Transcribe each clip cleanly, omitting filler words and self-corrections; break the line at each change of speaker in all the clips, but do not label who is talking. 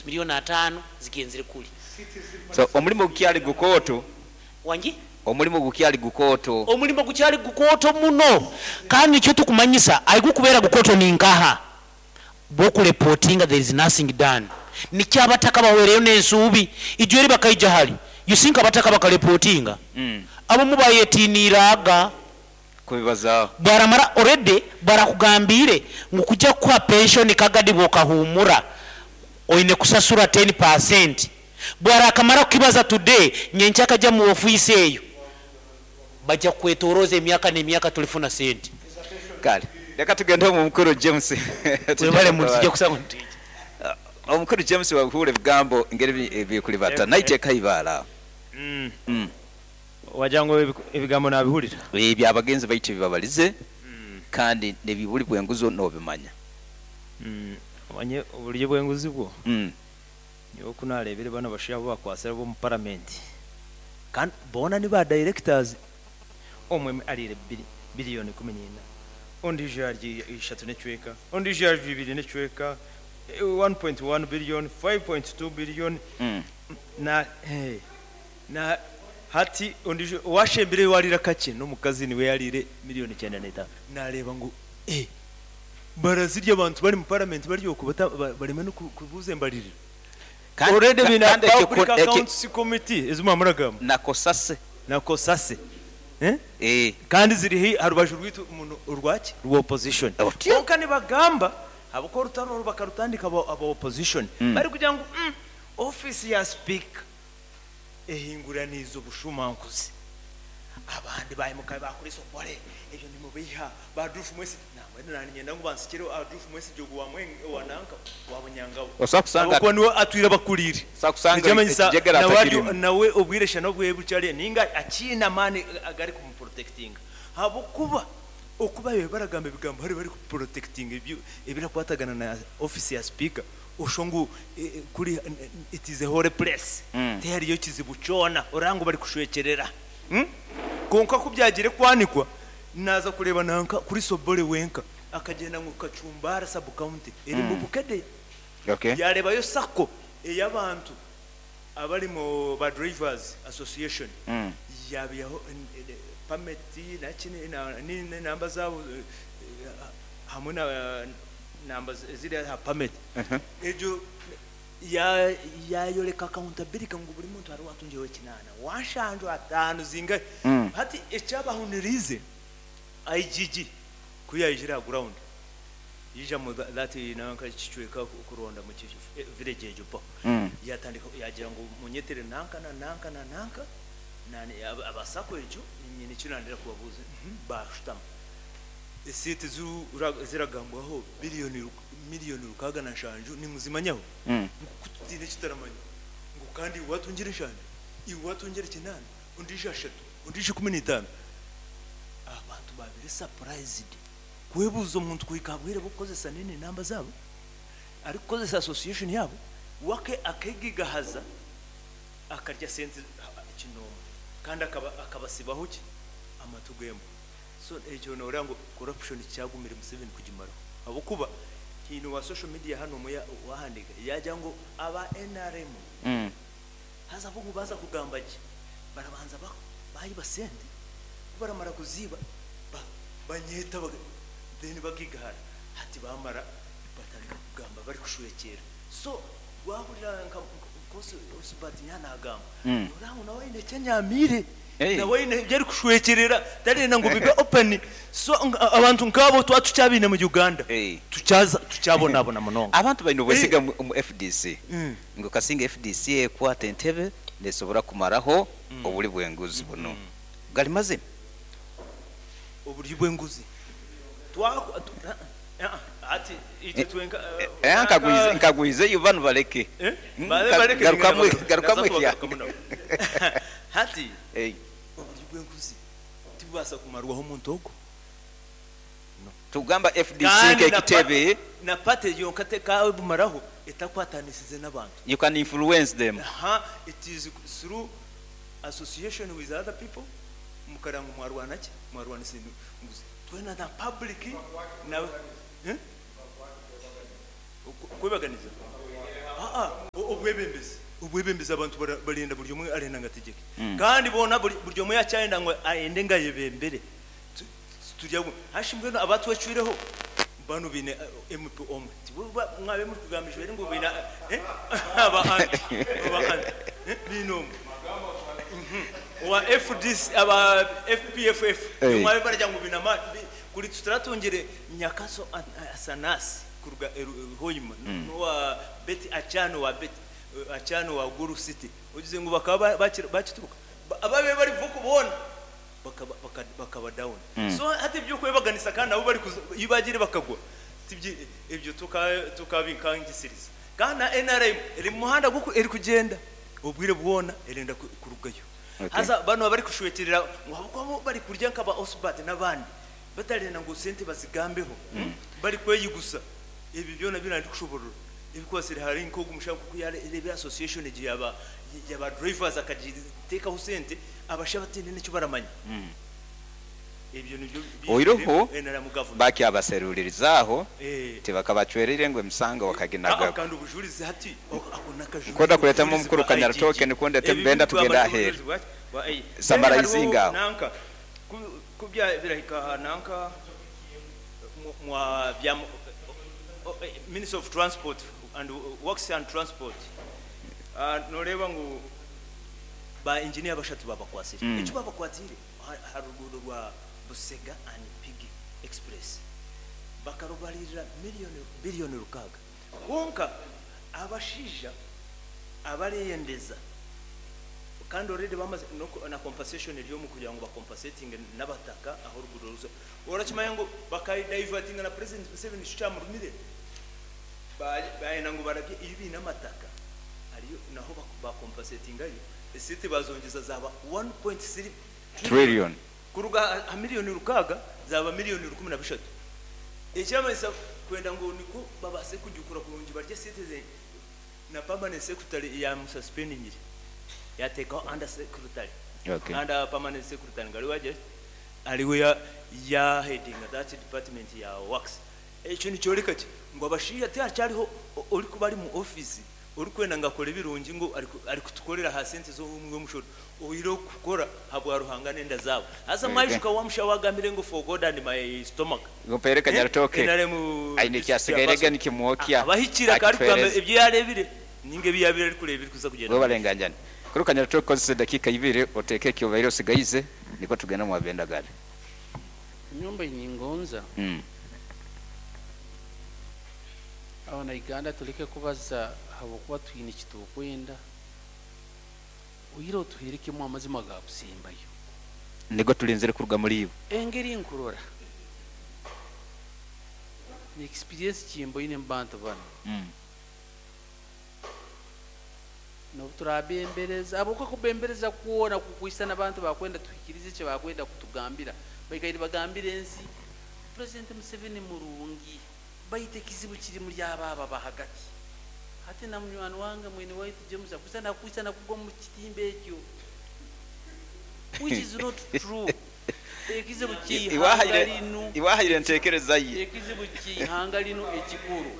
Milioni atano zigenzire kuri.
So omulimo gukyali gukooto.
Wangi?
Omulimo gukyali gukooto.
Omulimo gukyali gukooto muno kandi nikyo tukumanyisa ahigukubeera gukooto ninkaha bwokureportinga there is nothing done nikyo abataka bahwereyo nensuubi ijo eri bakaija hari you think abataka bakareportinga abamu bayetiniire aga
Kubibazaaho.
Bwaramara already barakugambiire ngu kuja kukuha pension kagadi bwokahumura oine kusasura ten percent bwarakamara kukibaza today nyenkya akaja mu office eyo baja kukwetoroza emyaka nemyaka tolifuna sente.
Kale leka tugende omu mukuru James.
Webale muntu tujja kusanga nitwija.
Omukuru James wahuura ebigambo engeri ebikulibata naitwe ekaibaara.
Wagira ngu ebigambo nabihurira.
Ebyo abagenzi baitu ebibabalize kandi nebiburi bwenguzi nobimanya.
Omanye oburyo bwenguzi bwo, nyowe ku narebire banu abashaija abu bakwatsire abomu paramenti kandi boona ni ba directors, omwe ariire billion 14, ondiijo yarya ishatu n'ekicweka, ondiijo yarya ibiri n'ekicweka, 1.1 billion, 5.2 billion, na Na hati ondiijo owashembireyo owaariire akakye n'omukazi niwe yaariire miriyoni 95. Naareeba ngu eh barazirya abantu bari mu paramenti bari okwo bata bareme n'okubuuza embaririra.
Kandi
Already baine
kandi ekyo
Public
ekyo
Accounts Committee ezi mwaba muragamba.
Na Cosase.
Na Cosase. Eh?
Eh.
Kandi ziri haihi aha rubaju rwaitu muno orwaki? Rwa opposition.
Otyo.
Kwonka nibagamba ahabw'okuba orutaro oru bakarutandika aba aba opposition barikugira ngu umm ofiisi ya sipiika Ehinguraniize obushumankuzi. Abandi baimuka baakora esobore, ebyo nimubeiha. Ba Adolf Mwesigye, nambwenu naanye niinyenda ngu bansikire Adolf Mwesigye ogwo wa nanka, wa Bunyangabo.
Osobola kusanga.
Ahabw'okuba niwe atwire abakuriire.
Osobola kusanga
Nikimanyisa
ekijegere
nawe ari
atakirimu.
nawe obwire shana obwe bukye ariyo nainga akiine amaani agarikumuprotectinga. Ahabw'okuba oku baabaire baragamba ebigambo hariyo barikuprotectinga ebirakwatagana na ofiisi ya sipiika, Oshusha ngu kuri it is a holy place tihariyo kizibu kyona oraba ngu barikushwekyerera kwonka ku byagiire kwanikwa naaza kureeba nanka kuri Sobole wenka akagyenda ngu Kacumbara sub county erimu Bukedea yareebayo sacco ey'abantu abari mu ba drivers association yabaihaho permit naki n'enamba zaabo hamwe na Namba eziri aha permit egyo yayoreka accountability ngu buri muntu hariho owatungyireho ekinaana, wanshanju, ataano zingahi. Hati ekyabahuniriize IGG ku yaijire aha ground yaija mu that nanka kicweka kuronda mu village egyo mpaho yatandika yagira ngu munyetere nanka na nanka na nanka aba sacco egyo nyine eki nandenda kubabuuza bashutama. Esente ezi eziragambwaho biliyoni miliyoni 67 nimuzimanyaho? Ngu ku tutaine eki tutaramanya ngu kandi iwe watungire nshanju, iwe watungire kinaana, ondiijo ashatu, ondiijo 15. Abantu babaire surprised kwebuuza omuntu kuhika aha bwire bw'okukozesa nini namba zaabo arikukozesa association yaabo we akegigahaza akarya sente kinoomwe kandi akabasibaho ki? Amatu g'embwa. So ekyo noreeba ngu corruption kyagumire Museveni kugimaraho ahabw'okuba haine owa social media hanu omwe owahandiika yagira ngu aba nrm haza bo ngu baaza kugamba gye barabanza baiba sente kubaramara kuziiba banyeeta then bagigahara hati bamara batandika kugamba barikushwekyera so wahurira nka Osbert yaanagamba noreeba ngu nawe aine eki anyaamiire. Nawe aine ebi arikushwekyerera tarenda ngu bibe open so abantu nkaabo twaba tukyabaine mu Uganda tukyabonabona munonga.
Abantu baine obwesige omu FDC ngu kasinga FDC ekwata entebe nesobora kumaraho obuli bwenguzi bunu. Gali mazima?
Oburyo bwenguzi hati itwe twenka.
Nkagwizeyo banu baleke. Garukamu ekyange.
Hati oburyo bw'enguzi tibubaasa kumarwaho omuntu ogwo. No.
Tugamba FDC
Kandi na
nk'ekitebe.
Na party yonka tekaabumaraho etakwatanisize n'abantu.
You can influence them.
Aha, it is through association with other people mukareba ngu mwarwana ki? Mwarwanisa enguzi. Twena na public na. Kwebaganiza? Aa, obwebembezi obwebembezi abantu barenda buri omwe arenda ngu ategyeke kandi boona buri omwe yakyayenda ngu ayende ngu ayebembere. Turi abumwe. Hashi mbwenu abatwecwireho banu baine MP omwe. Tibo mwabaire murikugamba ijweri ngu baine aba anti aba anti baine omwe. Owa FDC aba FPFF nibo mwabaire baragira ngu baine amaani. Kuri tituratungire Nyakaso Asanasi kuruga Hoima n'owa Betty Achan owa Betty Achan owa Gulu City ogize ngu bakaba bakituruka. Ababaire bari vocal boona bakaba down. So hati eby'okwebaganisa kandi nabo ei bagiire bakagwa ebyo tokabinkangisiriza. Kandi na nrm eri mu muhanda erikugyenda obwire bwona erenda kurugayo. Haza banu abarikushwekyerera ngu ahabw'okuba bo barikurya nka ba Osbert n'abandi batarenda ngu sente bazigambeho barikweyigusa ebyo byona bi narikushoborora ebikwatsire ahari nk'ogu mushaija nk'oku yareebire association egi yaba yaba drivers akagiteekaho sente abashaija bataine n'eki baramanya. Ebyo nibyo
Oiroho
biijwire nrm government.
bakyabaserulirizaho
Eh.
tibakabacwereire ngu emisango bakaginagaku.
Kandi obujurizi hati ako n'akajurizi
Nkwenda kureetamu
obujulizi
omukuru
bwa IGG.
Kanyarutooke nikwo ndeete
Ebi
Benda
birikugamba
tugende
nti
aheeru.
obujulizi bwaki? Bwa IG. Then
Samarayizinga
hariho
aho.
nanka ku ku bya birahika aha nanka mwa bya Ministry of Transport and Works and Transport noreeba ngu ba engineer bashatu babakwatsire. Eki babakwatiire aha ruguudo rwa Busega and Mpigi Express bakarubaririra million billion rukaaga. Kwonka abashaija abareyendeza kandi already bamaze na compensation eri omu kugira ngu ba compensatinge n'abataka ahu oruguudo ruza. Orakimanya ngu bakadivertinga na President Museveni nikyo kyamurumire, bayenda ngu barabye ei baine amataka hariyo naho ba compensatingayo esente bazongyeza zaba 1.3
Trillion.
Kuruga aha miriyoni rukaaga zaaba miriyoni 13. Ekyamanyisa kwenda ngu nikwo babaase kujukura kurungi barye esente ze na permanent secretary yamususpendingire yateekaho under secretary
Okay.
under permanent secretary ngu ariwe agira ki ariwe ya ya headinga that department ya works. Ekyo nikyoreka ki? Ngu abashaija tihakyariho orikuba ari mu office Orikwenda ngu akore ebirungi ngu arikutukorera aha sente z'omuwi w'omushoro, oihireho kukora ahabwa Ruhanga n'enda zaabo. Haza mwaijuka wa mushaho agambire ngu for God and my stomach.
Mpeere Kanyarutooke
NRM
aine
district
ekyasigaire
chairperson
nikimwokya
akaba ahikire akaba arikugamba
akituheereze.
ebi yareebire ninga ebi yabaire arikureeba ebirikuza kugyenda
Webale
omu maisho.
nganjani. Kuru Kanyarutooke kozesa edakiika ibiri oteeke eki obaire osigaize nikwo tugende omu Abendagane.
Nyomba ningonza. Abanauganda tuleke kubaza ahabw'okuba twine eki turikwenda, oihireho tuheere kimwe amazima gaakusembayo.
Nigo turinzire kuruga muri iwe.
Engeri nkurora ni experience ki mboine omu bantu banu, n'obu turabembereza, ahabw'okuba kubembereza kwona kukwisana abantu bakwenda tuhikirize eki bakwenda kutugambira, baikaire nibagambira ensi, President Museveni murungi. Baitu ekizibu kiri muri abo ababa hagati. Hati na munywani wange mwene waitu James akwitsa nakwitsa nakugwa omu kitimba ekyo which is not true. Ekizibu ky'eihanga linu.
Iwe ahaire entekereza ye.
Ekizibu ky'eihanga linu ekikuru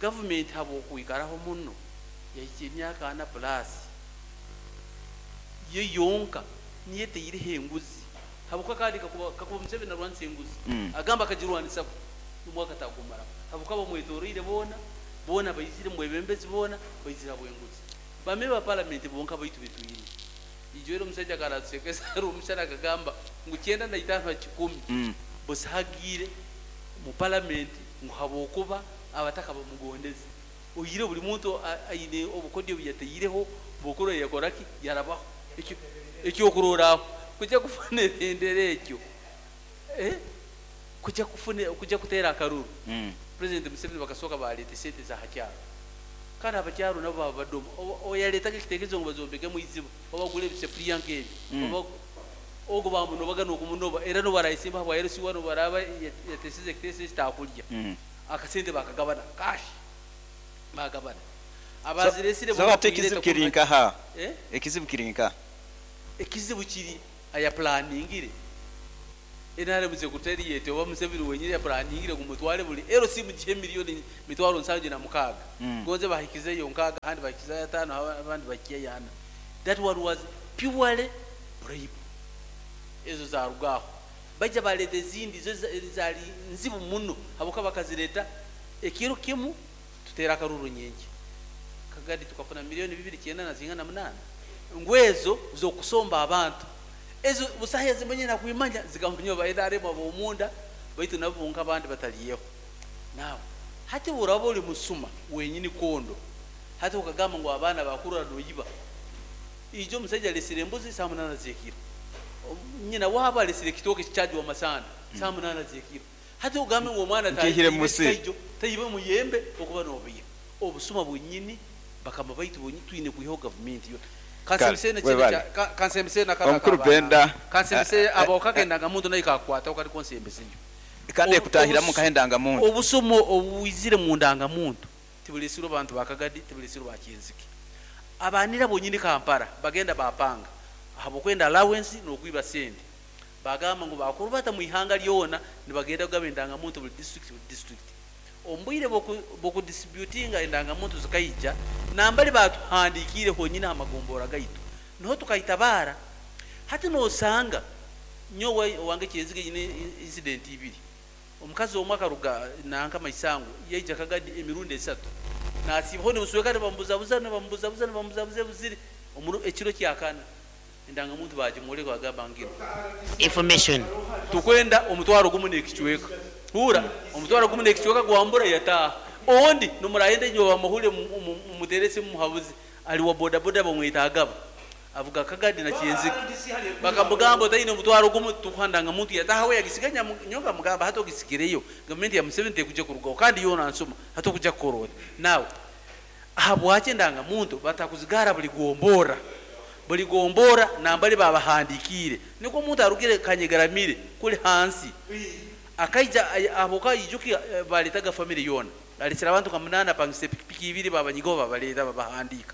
gavumenti habw'okwikaraho muno yahikya emyaka ana plus yo yonka niyo eteireho enguzi. Habwokuba kandi kakuba kakuba Museveni arwanisa enguzi, agamba akagirwanisa ku n'omwaka tagumaraho. Habwokuba abamwetoroire boona, boona baizire mubwebembezi boona baizire habw'enguzi. Ba member ba parliament bonka baitu betwine. Ijo eri omusaija akaba natusekesa Rwomushana akagamba ngu kyenda na itaano ha kikumi busahagiire mu parliament ngu habwokuba abataka bamugondeze. Oihireho buri muntu aine obukodyo obu yataireho bw'okurora yakora ki? Yarabaho. Ekyo ekyokurorraho kujya kufuna ebendera egyo, eh, kujya kufuna kujya kuteera akaruru, President Museveni bakasooka baaleeta esente za ha kyaro. Kandi abakyaro nabo baaba badoma. Oyaleetaga ekitekerezo ngu bazombekemu eiziba oba bagule ebisefuriya nk'ebi, oba ogu baamunobaga n'okumunoba era n'obu araayesimba habwa LC1 obu araaba yateeseze ekiteeso eki taakurya. Akasente baakagabana cash, baagabana. Abazireesire
So
bo
hati ekizibu
bakuireeta
kiri
kuruga
nkaha?
Eh?
Ekizibu kiri nkaha?
Ekizibu kiri ayaplaningire. NRM secretariat oba Museveni wenyini yaplaningire ngu mutware buri LC mugihe million mitwaro 76. Gonze bahikizeyo 6, ahandi bahikizeyo 5, abandi bahikiyeyo 4. That one was purely bribe. Ezo zarugaho. Baija baleeta ezindi zo zali nzibu muno habwokuba bakazireta ekiro kimu tutera akaruru nyenkya. Kagadi tukafuna milioni bibiri kyenda na zingana munana. Ngu ezo z'okusomba abantu. Ezo busaho ezimanyire nakwimanya zikamanywa ba NRM ab'omunda baitu nabo bonka abandi bataliyeho. Now hati oraba ori musuma wenyini kondo hati okagamba ngu abaana bakurora noyiba. Ijo omusaija alesire embuzi saaha munana z'ekiro. Nyina waabo alesire ekitooke kikyajwa amasanda saaha munana z'ekiro. Hati ogambe ngu omwana
Nkiihire
tayibe
musiri.
ekikaijo, tayibe omuyembe okuba nobiiha. Obusuma bwenyini bakama baitu bonyini twine kwihaho gavumenti yoona.
Kale,
Kansembese nekindi
webale.
kya ka- kansembese na kano
Omukuru
ak'abaana.
Benda,
Kansembese abo kagendangamuntu nayo kakwataho kari konsembeseyo.
Kandi ekutahiramu nkaha endangamuntu.
Obusomo obwizire mu ndangamuntu tiburesirwe abantu ba Kagadi, tiburesirwe ba Kyenzike. Abanira bonyini Kampala bagenda bapanga ahabw'okwenda allowance n'okwiba sente. Bagamba ngu bakuru bata mu ihanga lyona nibagenda kugaba endangamuntu buri district buri district. Omu bwire bw'okudistributinga endangamuntu zikaija nambari batuhandikiire honyini aha magombora gaitu niho tukaitabaara. Hati nosanga nyowe owange Kyenzike nyine incident ibiri. Omukazi omwe akaruga nanka Maisango yaija Kagadi emirundi esatu. Nasiibaho nibusweka nibamubuzabuza nibamubuzabuza nibamubuzabuza ebuzire omuri ekiro kyakana endangamuntu bagimworeka bagamba nginu.
Information.
Tukwenda omutwaro gumu n'ekicweka. Huura omutwaro gumu n'ekicweka gwambura yataaha. Ondi nomurahenda enyuma bamuhure mumutere esimu mumuhabuze ari wa bodaboda bamweta Agaba. Avuga Kagadi na Kyenzike. Bakamugamba otaine omutwaro gumu tukuha ndangamuntu yataaha we yagisiga nyowe nkamugamba hati ogisigireyo gavumenti ya Museveni tekuja kurugaho kandi yoona nsuma hati okuja kukora ota. Now ahabwaki endangamuntu batakuzigara buri gombora? Buri gombora nambari babahandikiire nikwo omuntu arugire Kanyegaramire kuri hansi akaija ahabwokuba aijuka baretaga family yoona aresire abantu nka munana apangise pikipiki ibiri babanyigaho babareta babahandiika.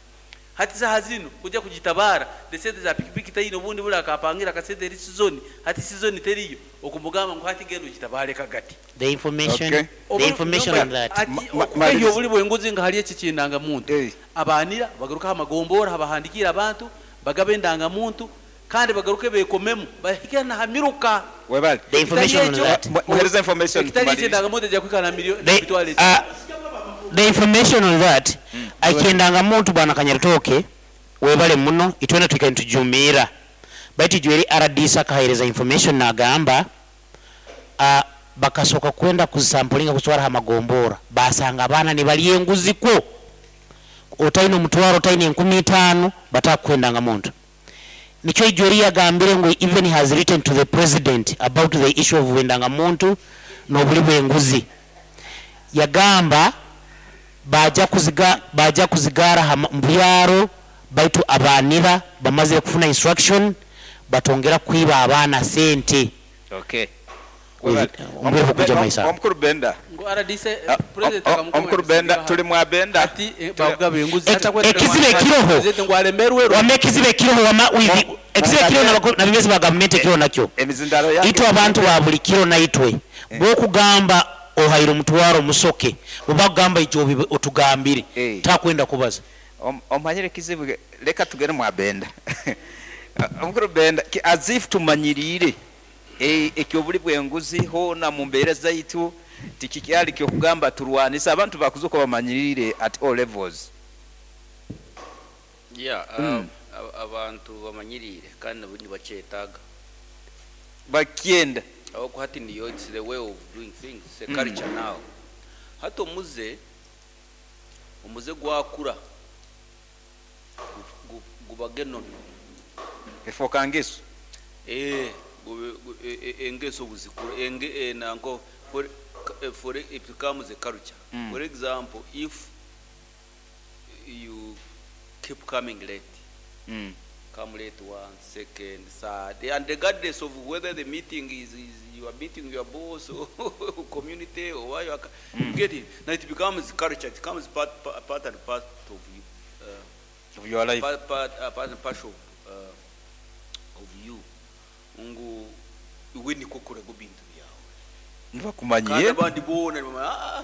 Hati saha zinu kuja kugitabaara the sente za pikipiki taine obundi buri akapangira akasente eri sizoni hati sizoni teriyo okumugamba ngu hati genda ogitabaare kagati.
The information,
Okay.
the information on that.
Ati okukehya
Maliriza.
oburi bw'enguzi nga hari eki ky'endangamuntu.
Eh.
Abanira bagaruke aha magombora habahandikiire abantu bagabe endangamuntu kandi bagaruke bekomemu bahike na ha miruka.
Webale.
The information on that.
Muhereze information
Ekitari ekyo
tumalirize.
endangamuntu ejja kwikara na milioni
The,
emitwaro eki.
the information on that eky'endangamuntu bwana Kanyarutooke webale muno itwena twikaire nitujumiira baitu ijo eri RDC akahereza information nagamba bakasoka kwenda kuzisampulinga kuzitwara ha magombora basanga abaana nibarya enguzi kwo otaine omutwaro otaine 5000 batakukwenda muntu. Nikyo ijo eri yagambire ngu even he has written to the president about the issue of endangamuntu n'obuli bw'enguzi. Yagamba baja kuziga, baja kuzigara ha mu byaro baitu abanira bamaze kufuna instruction batongera kwiba abaana sente.
Okay.
With, omubiri kuja maisa.
Omukuru Benda.
Ngu RDC, president akamukoma
Omukuru Benda,
ebisiga
tuli mwa Benda.
Ati, bagaba enguzi. Hata
Ekizibu
kwetera
ekiroho.
President ngu alemerwe.
Wama ekizibu ekiroho, wama with ekizibu ekiroho na bimezi ba gavumenti ekiroho nakyo.
Emizindaro yange.
Itwe abantu ba buli kiro na itwe. Bw'okugamba ohaire omutwaro musoke, bw'oba kugamba ijo otugambire. Takwenda kubaza.
Omanyire ekizibu, leka tugere mwa Benda. Omukuru Benda, as if tumanyirire. Ekyobuli bw'enguzi hoona mu mbeera zaitu tikikyali kyokugamba turwanisa abantu bakuzuka bamanyirire at all levels.
Yeah, abantu bamanyirire kandi nabo nibakyetaaga.
Bakyenda.
Aho hati niyo it's the way of doing things, it's a culture now. Hati omuze gwakura gubage nono.
Efoka ngeso.
Engeso buzikura, enge, nanko, for, for it becomes a culture. For example, if you keep coming late, come late 1 second, third, and regardless of whether the meeting is you are meeting your boss or community or why you are, you get it. Now it becomes culture. It becomes part and part of you.
Of your life.
Part, part and parcel of you. Ngu Iwe nikwo okoraga ebintu byawe. Kandi
Nibakumanyiire.
abandi boona nibamanya, "Ah,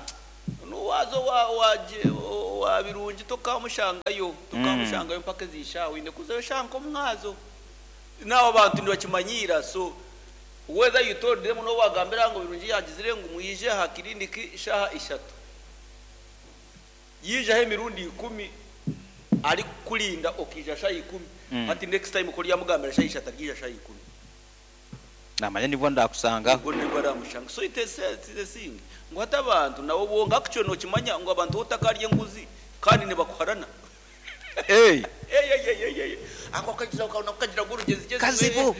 onu waaza owa, owa, Gye- owa Birungi tokamushangayo, tokamushangayo mpaka ezi shaaha, oine kuzayo shaaha nk'omwazo. N'abo abantu nibakimanyiira, so whether you told them n'obu wagambira ngu Birungi yagizire ngu mwije aha kiriniki shaaha ishatu, Yijaho emirundi ikumi arikukurinda okaija shaaha ikumi, hati next time ku oryamugambira shaaha ishatu aryaija shaaha ikumi.
Namanya nibwo ndakusangaho.
Nibwo nibwo aramushanga. So it is a thing ngu hati abantu nabo bonka actually nokimanya ngu abantu otakarya enguzi kandi nibakuharana.
Hey.
Eyeyeyeye ako akagira nako kagira ngu orugyezi
Kazibu.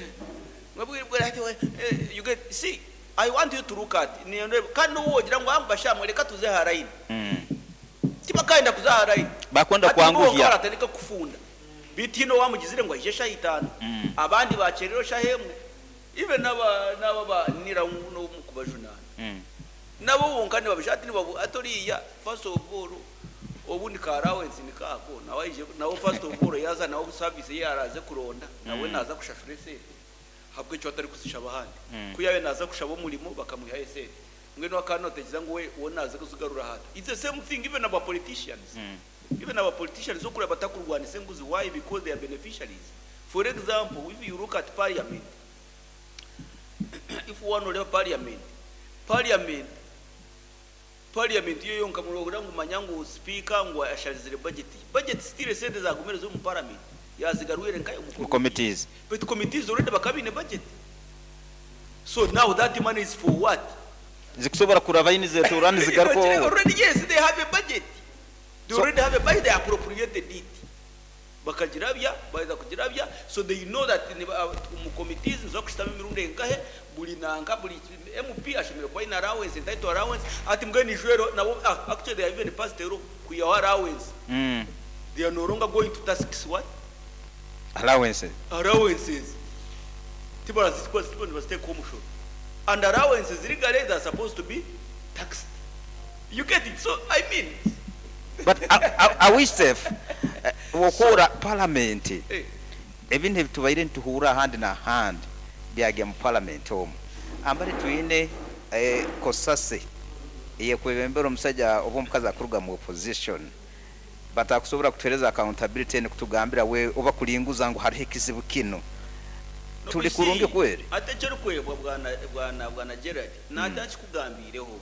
You get see I want you to look at nindeeba kandi n'obu wogira ngu ah basha mwe reka tuze aha line tibakayenda kuza aha line.
Bakwenda
Hati nibo bonka
kwanguhya.
baratandika kufunda beitu haine owamugizire ngu aije eshaaha itaano abandi bakyererwa eshaaha emwe even n'aba n'aba ba nira n'omu kubajunaana nabo bonka nibabisha hati nibabu hati oriya first of all obundi ka allowance niko ako nawe aije nawe first of all yaaza nawe service ye araaze kuronda nawe naaza kushashura esente Ahabw'ekyo atarikuzishaba ahandi. Ku yaabaire naaza kushaba omurimo bakamwihayo esente. Mbwenu akaba nootekyereza ngu we we naaza kuzigarura hata? It's the same thing even aba politicians. Even aba politicians okureeba batakurwanisa enguzi why? Because they are beneficiaries. For example, if you look at parliament, if waaba nooreeba parliament, parliament, parliament yo yonka noohurira ngu manya ngu sipiika ngu asharizire budget. Budget still esente zaagumire ziri omu parliament, yaazigarwire nkahi? Omu
Mu
committees.
committees.
Baitu committees already bakaba baine budget. So now that money is for what?
Zikusobora kuraba nizetuura nizigaruka owe.
Already yes, they have a budget. They
So-
already have a budget, they appropriated it. Bakagirabya, baheza kugirabya, so they know that omu committees niza kushutama emirundi enkahe, buri nanka, buri MP ashemereire kuba aine allowance, entitled allowance, ati mbwenu ijwero nabo, ah, actually they have even passed a law kwihaho allowance. They are no longer going to tax what?
Allowances.
Allowances. Tibarazitwa nibaziteekaho omushoro. And allowances legally they are supposed to be taxed. You get it? So, I mean.
But are, are we safe? Okuhurra parliament
Eh.
ebintu ebi tubaire nituhurra ahandi n'ahandi byagya mu parliament omu. Ambari twine eh, kosase eyekwebembera omusaija oba omukazi akuruga mu opposition batakusobora kutuhereza accountability nikutugambira we oba kuringuza ngu hariho ekizibu kinu. Turi kurungi kweri?
Hati ekyorikwebwa bwana bwana bwana Gerald natakikugambiireho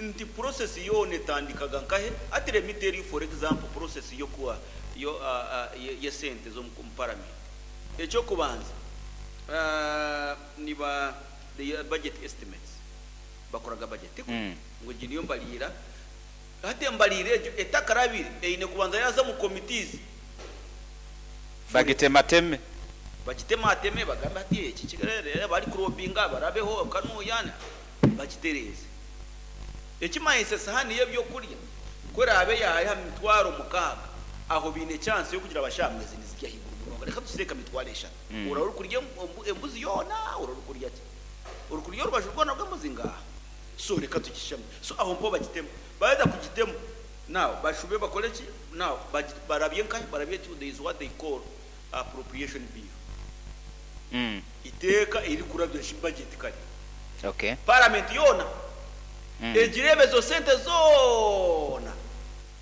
nti process yoona etandikaga nkahe hati let me tell you for example process yokuwa yo yesente zomu parliament ekyokubanza niba the budget estimates bakoraga budget tikwo ngu egi niyo mbariira hati embariira egyo etakarabire eine kubanza yaaza omu committees
Bagitemateme.
Bagitemateme bagambe hati eki kigarere abarikurobinga barabeho kanuya bagitereeze. Ekimanyisa esahani y'ebyokurya ku eraabe yaaha aha mitwaro mukaaga aho baine chance y'okugira bashaaha ezi nizirya ahaiguru munonga reka tuziteeke aha mitwaro eshatu. Oraba orikurya embuzi yoona oraba orikurya ki? Orikurya orubaju rwona rw'embuzi? Ngaaha. So reka tugishame. So aho mpaho bagitemu. Baaheza kugitema now bashube bakore ki? Now barabye nkahi? Barabye there is what they call appropriation bill. Iteeka eririkurabya shi budget kare.
Okay.
Parliament yoona egireebe ezo sente zoona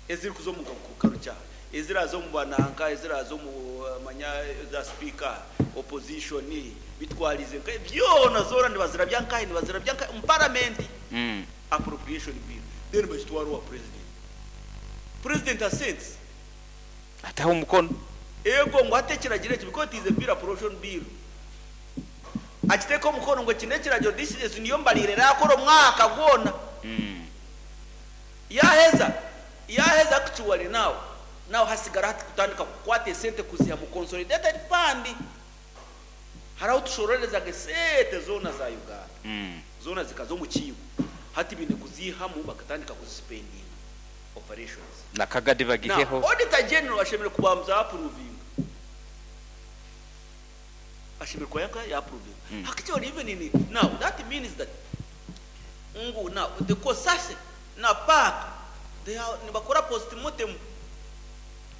ezirikuza omu karukyaro, eziraaza omu bananka, eziraaza omu manya za sipiika, opposition, bitwarize nka byona zoona nibazirabya nkahi? Nibazirabya nkahi? Omu parliament. Appropriation bill then bagitwara owa president. President assents.
Ataho omukono.
Eego ngu hati ekiragiro eki because it is a bill appropriation bill akiteeka omukono ngu eki n'ekiragiro this is niyo mbarira erakora omwaka gwona. Yaheza yaheza actually now now hasigara hati kutandika kukwata esente kuziha mu consolidated fund. Hariho ahu tushororezaga esente zoona za Uganda zoona zikaza omu kiibo hati baine kuziihamu bakatandika kuzisipendinga operations.
Na kagadi
Now
bagiheho.
Auditor General ashemereire kubanza yaapuruvinga ashemereire kuba yaka yaapuruvinga actually even in now that means that ngu now the COSASE na PAC they are nibakora postmortem.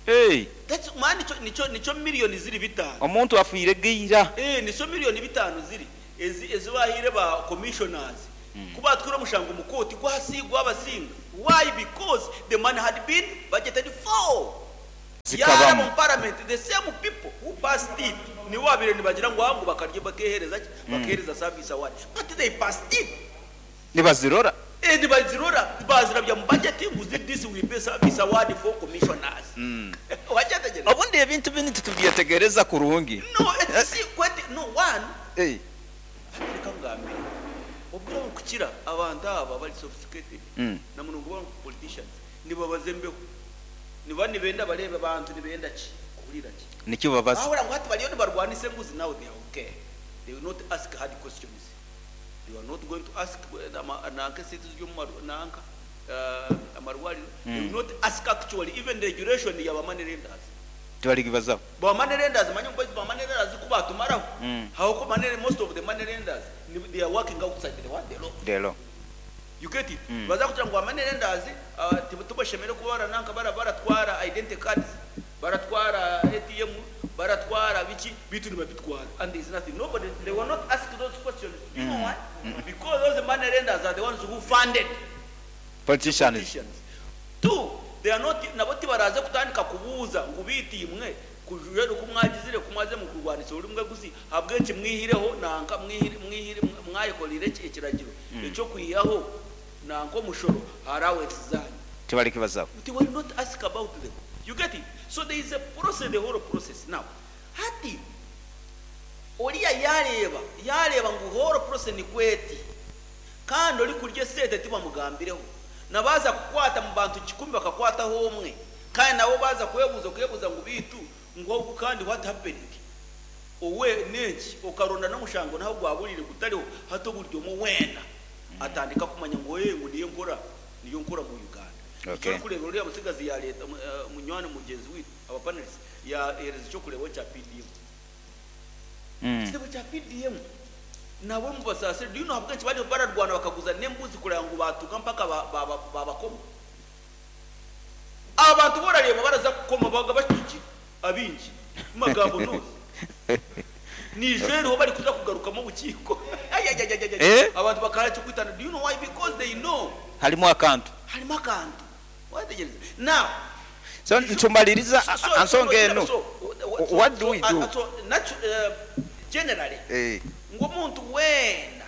Hey.
That's mani nikyo nikyo nikyo millioni ziri bitano.
Omuntu afiire geira.
Eh, nikyo millioni bitano ziri. ezi ezi bahaire ba commissioners ku baatwire omushango mu kooti gwasi gwabasinga. Why? Because the money had been budgeted for. Yaaraba
Zikabamu.
omu parliament the same people who passed it nibo babaire nibagira ngu ngu bakarya bakeehereza ki? Bakeehereza service award. But they passed it.
Nibazirora.
Eh, nibazirora bazirabya mu budget ngu this will be service award for commissioners. Wakyetegereza?
Obundi ebintu binu titubyetegereza kurungi.
No, it's see, kwete, no one.
Eh.
Hati reka nkugambire. Obwire oburikukira abantu aba abari sophisticated na munonga ba politicians nibabaza embeho. Niba nibenda bareebe abantu nibenda ki? Kuhurira ki?
Nikyo babaza.
Bahurira ngu hati bariyo nibarwanisa enguzi now they are okay. They will not ask hard questions. They are not going to ask nanka esente ziri omu nanka amarwariro. They will not ask actually even the duration ya ba money lenders.
Tibarigibazaho.
Ba money lenders manya ngu ba money lenders ku batumaraho. How come money, most of the money lenders they are working outside the what the law.
The law.
You get it? Baza kugira ngu ba money lenders tibashemere kuba barananka baratwara identity cards, baratwara ATM, baratwara biki bitu nibabitwara, and there is nothing. Nobody, they were not asked those questions. Do you know why? Because those money lenders are the ones who funded
politicians.
Politicians. Two, they are not nabo tibaraze kutandika kubuuza ngu biitimwe kujura ku mwagizire ku mwaze mu kurwanisa ori mwe guzi habwenki mwihireho nanka mwihire mwihire mwayekorire ekiragiro ekyokwihaho nanka omushoro allowance zanyu.
Tibarikibazaho.
They will not ask about them. You get it? So there is a process, the whole process. Now, hati oriya yareeba yareeba ngu whole process ni kweti kandi ori kurya esente tibamugambireho nabaza kukwata mu bantu 10 bakakwataho omwe kandi nabo baza kwebuuza kwebuuza ngu biitu ngu ogu kandi what happened owe nenki okaronda n'omushango naho gwaburire gutariho hati oburi omwe weena atandika kumanya ngu oye ngu niyo nkora niyo nkora mu Uganda. Ekyokureeba oriya musigazi yareeta munywani mugyenzi witu aba panelists yahereza ekyokureebaho kya PDM. Ekitabo kya PDM nabo mubasaasire. Do you know ahabw'enki bariyo bararwana bakaguza n'embuzi kureba ngu batuuka mpaka babakoma? Abantu borareeba baraza kukoma baga bashyigikiye abingi mu magambo ntuzi. Ni ijoro bari kuza kugarukamo obukiiko. Ay, ay, ay, ay, ay, ay. Abantu bakara cyo kwitana. Do you know why? Because they know.
Harimo akantu.
Harimo akantu. Wategereza. Now,
So ntumaliriza ansonga eno. What do we do?
So, generally, ngo omuntu weena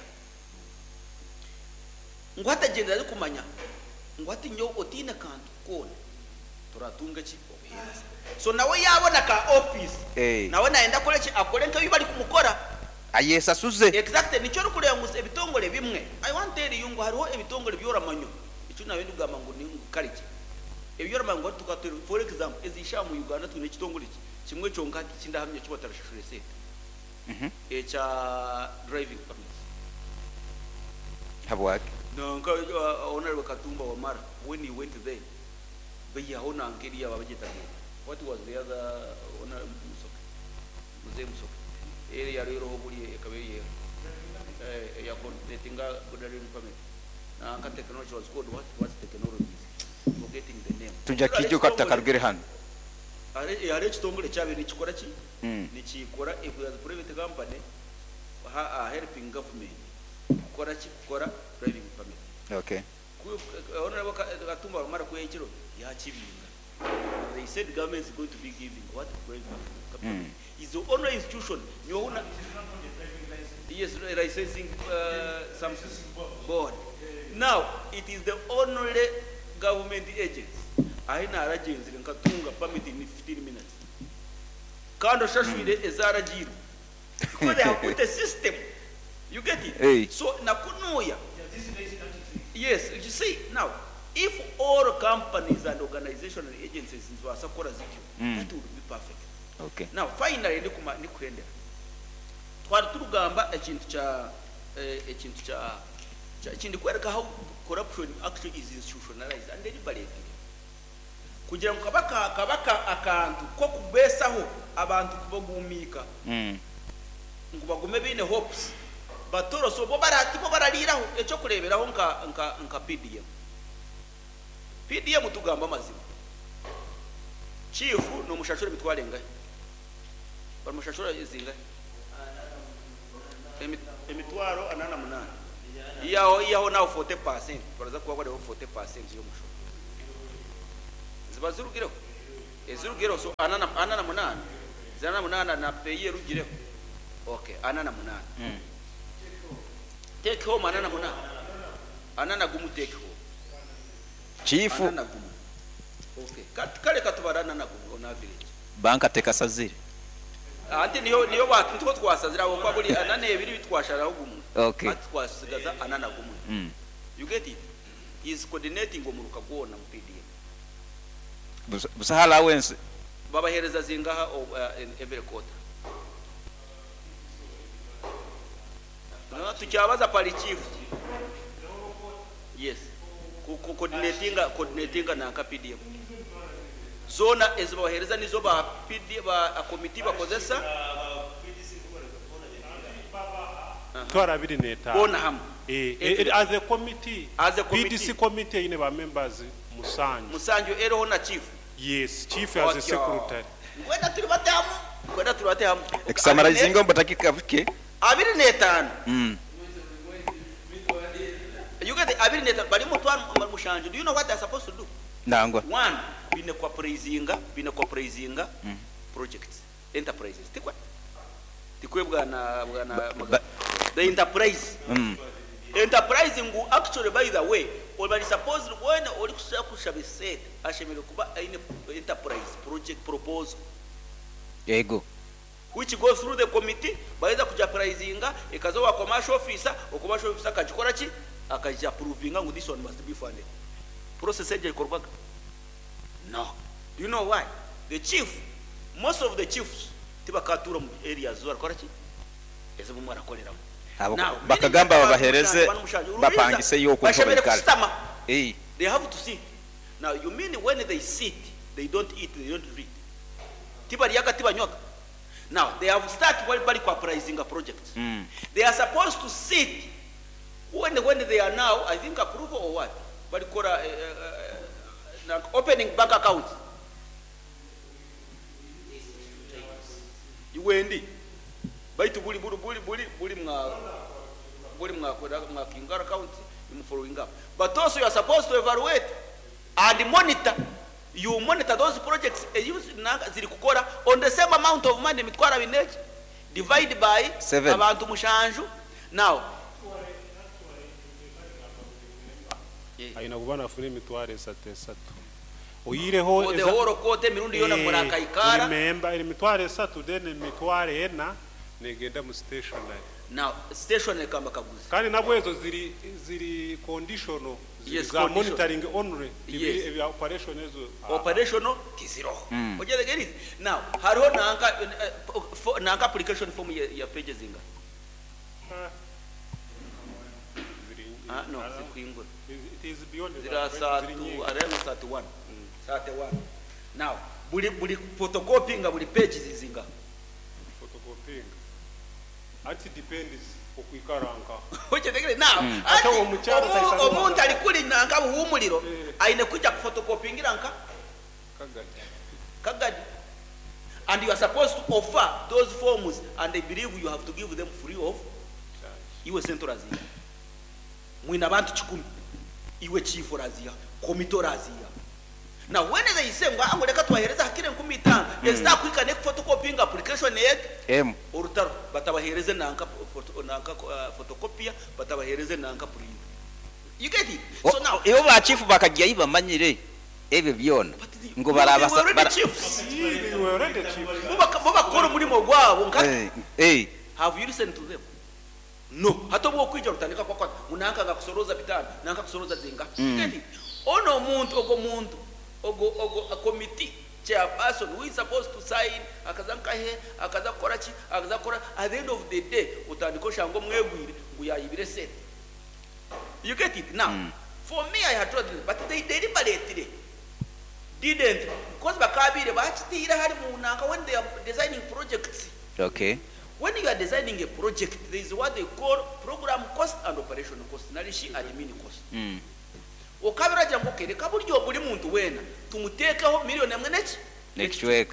ngu hatagyendera arikumanya ngu hati nyowe otiine kantu koona turatunga ki obuheereza. So nawe yabona ka office, nawe nayenda akore ki? Akore nk'ebi bari kumukora.
Ayesasuze.
Exactly. Nikyo orikureeba ngu ebitongore bimwe, I want tell you ngu hariho ebitongore byoramanywa ekyo nawe ndigamba ngu ni ngu kare ki ebyoramanywa ngu tukatera. For example, ezisha mu Uganda twine ekitongore ki kimwe kyonka hati kindahamya ki batarashashura esente, ekya driving permits.
Habwaki?
Nanka Honorable Katumba Wamara, when he went there, bayihaho nanka eriya babagyetaga. What was the other Honorable Musoke? Mzee Musoke. Eri yari buri ekaba eri ya coordinating driving permit. Nanka technology was called what? What technologies? Forgetting the name.
Tujja kijuka tutakarugire hano.
Hari ekitongore kyabaire nikikora ki? Nikikora if as a private company helping government kukora ki? Kukora driving permit. Honorable Katumba Wamara kwekiro yakibinga. They said government is going to be giving what driving permit. Is the only institution nyohuna. Yes, licensing some board. Now it is the only government agency. Ahi naragenzire nkatunga permit in 15 minutes. Kandi oshashwire ezaragirwe. Because they have put a system. You get it?
Hey.
So nakunuya. Yes, you see now, if all companies and organizations and agencies nibabasa kukora zityo, that would be perfect. Now finally ndikuhendera. Twari turugamba ekintu kya ekintu kya kindi kwereka how corruption actually is institutionalized and deliberately. Kugira ngu kabaka akantu ko kubesaho abantu kubagumika. Ngu bagume bine hopes. Batoroso bo barati bo barariraho ekyo kureberaho nka PDM. PDM tugamba amazima. Chief no mushashura mitware ngahe? Bamushashura zingahe? Emitwaro ana na munaana. Ihaho ihaho naho 40% baraza kuba bariho 40% y'omushoro. Ziba zirugireho. Ezirugireho so ana na ana na munaana. Zana na munaana na PAYE erugireho. Okay, ana na munaana. Take home ana na munaana. Ana na gumu take home.
Chief
Ana na gumu. Okay. Kat- Kale katubara ana na gumu on average.
banka tekasazire.
Anti niyo niyo batu nitwo twasazira aho kwa buri ana nebiri bitwasharaho gumwe.
Okay.
Ati twasigaza ana na gumwe. You get it? He is coordinating omuruka gwona mu PDM.
Busaho allowance.
Babahereza zingaha in every quarter? No, tukyabaza pali chief. Yes. Ku ku- coordinatinga coordinatinga nanka PDM. Zona ezibahereza nizo ba PD ba committee bakozesa
Mitwaro abiri n'etaano.
bona hamwe.
Eh, eh, as a committee,
As a committee.
PDC committee eine ba members musanju.
Musanju eroho na chief.
Yes, chief as a secretary.
Kwenda turi batamu, kwenda turi batamu.
Ekusamarizinga omu budakika buke.
25. You get the 25 bari mutwaro mushanju. Do you know what they're supposed to do?
Nangwa.
One, bine kuappraisinga, bine kuappraisinga projects, enterprises. Tikwe. Tikwe bwana bwana the enterprise. Enterprise ngu actually by the way, obali supposed when oli kushaba esente ashemereire kuba aine enterprise project proposal.
Yego.
Which goes through the committee baheza kuja pricing ekaza wa commercial officer, o commercial officer akagikora ki akaja approvinga ngu this one must be funded. Process egyo ekorwaga no. Do you know why the chief, most of the chiefs tibakatura mu areas zo barakora ki ezibumwe barakoreramu.
Abo
Now,
bakagamba
meaning
babahereze
abantu mushanju,
bapangise yuko
bashemereire
baikara.
kusitama.
Eh.
They have to sit. Now you mean when they sit they don't eat, they don't drink, tibaryaga tibanywaga. Now they have started while bari appraising a project. They are supposed to sit when they are now, I think approval or what? Bari kora opening bank accounts. Iwendi. Baitu buli buli buli buli buli mwa buli mwa mwa kingara account you following up. But also you are supposed to evaluate and monitor. You monitor those projects use ziri kukora on the same amount of money mitwara bineji divide by
Seven.
abantu mushanju. Now
Aina kuba nafuna emitwaro esatu esatu. Oyireho
for the whole quarter mirundi yona murakaikara.
Remember emitwaro esatu then emitwaro ena negenda mu stationery.
Now station kamba kaguzi.
Kandi nabwo ezo ziri ziri conditional ziri
Yes,
za
conditional.
monitoring only
Yes.
ebya operation ezo
Operational tiziroho. Ojele get it. Now hariho nanka nanka application form ya pages inga.
Ziri
No, zikuingura.
It is beyond
Zira
that,
saa
ziri
tu
nyingi.
around 31. 31. Now buli buli photocopying buli page zizinga.
Photocopying. Ati depends okuikaranka.
Ochetegere now.
Ate omukyala taisana
Omuntu alikuli nanka buhumuliro
Eh.
aine kujja kuphotocopyingira nka
Kagadi.
Kagadi. And you are supposed to offer those forms and they believe you have to give them free of
Charge.
iwe sente oraziha. Mwina abantu 10. Iwe chief oraziha, komite oraziha. Now when they say ngo ango reka twahereza hakire 50,000, mm. Ezita ne photocopying application yet
M.
orutaro batabahereze nanka photo, nanka photocopia batabahereze nanka print. You get it? So now
ibo ba chief bakajya bamanyire ebyo byona
But the-
ngo barabasa
they were already
bara-
chiefs.
They were already chiefs.
Bo bakora umurimo gwabo nka
Eh, eh.
Have you listened to them? No. Hata obwo kwija rutandika kwa kwa munanka ngakusoroza bitano, nanka kusoroza zinga. Get it? Ono omuntu ogo muntu ogo ogo a committee chairperson who is supposed to sign akaza nkahe akaza kukora ki akaza kukora at the end of the day utandika oshango mwegwire ngu yayibire sente. You get it? Now, for me I had told them, but they deliberately didn't because bakabire bakitiire hari munanka when they are designing projects.
Okay.
When you are designing a project, there is what they call program cost and operational cost, narishi admin cost. Okabira jangu kereka buryo buri muntu wena tumutekeho miliyoni emwe neki
Next week.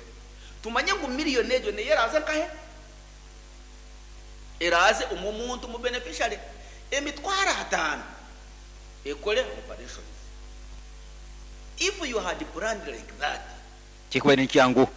tumanye ngu miliyoni egyo neyeraza nkahe Eraaze omu muntu mu beneficiary 500,000 ekore operations. If you had planned like that,
Kikubaire nikyangu.